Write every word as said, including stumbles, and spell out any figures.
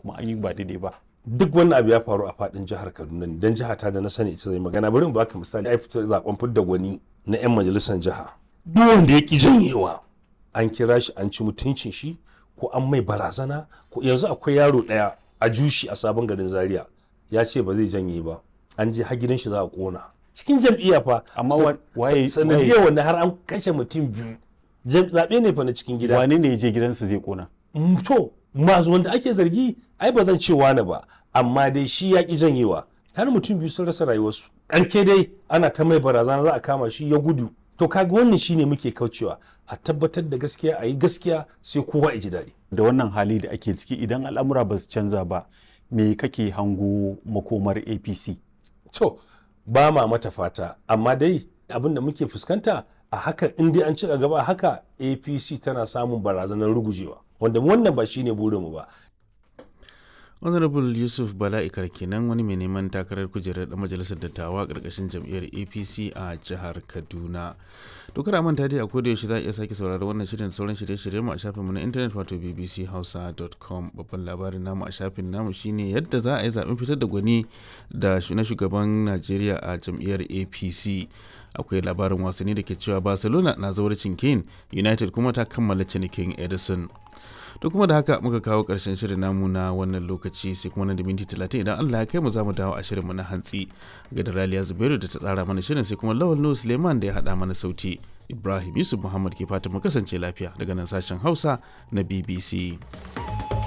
kuma an yi ba daidai ba? Duk wannan abu ya faru a fadin jihar Kaduna ne, dan jiha ta da na sani ita zai magana. Bari mu baka misali, ai fitar zaben fidda gwani na yan majalisar jiha, duk wanda ya ki janyewa an kira shi an ci mutuncin shi ko an mai barazana. Ko yanzu akwai yaro daya a jushi a Sabon Garin Zaria, ya ce ba zai janye ba, an je har gidan shi za a kona cikin jam'iyya fa. Amma waye sanadiyar wanda har an kashe mutum biyu, zaɓe ne fa na cikin gida. Wane ne ya je gidansa zai kona? To, masu wanda ake zargi, ai ba zan ce wani ba, amma dai shi ya ki janyewa, har mutum biyu sun rasa rayuwarsu. Ƙarke dai ana ta mai barazana za a kama shi, ya gudu. To, kaga wannan shine muke kaucewa, a tabbatar da gaskiya, a yi gaskiya, sai kowa ya ji daɗi. Da wannan hali da ake ciki, idan al'amura ba su canza ba, me kake hango makomar A P C? To, ba ma mata fata, amma dai abin da muke fuskanta a haka, in dai an ci gaba a haka, A P C tana samun barazanar rugujewa, wanda wannan ba shine burinmu ba. Honorable Yusuf Bala Ikar kenan, wani mai neman takarar kujerar da majalisar dattawa karkashin jam'iyyar A P C a jihar Kaduna. To, kada manta dai, a koda yaushe za a iya sake sauraron wannan shirin da sauran shirye-shirye mu a shafinmu na intanet, wato B B C hausa dot com. Babban labarin namu a shafin namu shine yadda za a yi zaben fitar da gwani da na shugaban Najeriya a jam'iyyar A P C. Akwai labarin wasanni da ke cewa Barcelona na zawarcin Kane, United kuma ta kammala cinikin Edison. To, kuma da haka muka kawo ƙarshen shirin namu na wannan lokaci, sai kuma nan da minti talatin idan Allah ya kai mu za mu dawo a shirinmu na hantsi. Ga da Raliya Zubairu da ta tsara mana shirin, sai kuma Lawal Nuhu Suleiman da ya haɗa mana sauti. Ibrahim Yusuf Muhammad ke fatan mu kasance lafiya daga nan sashen Hausa na B B C.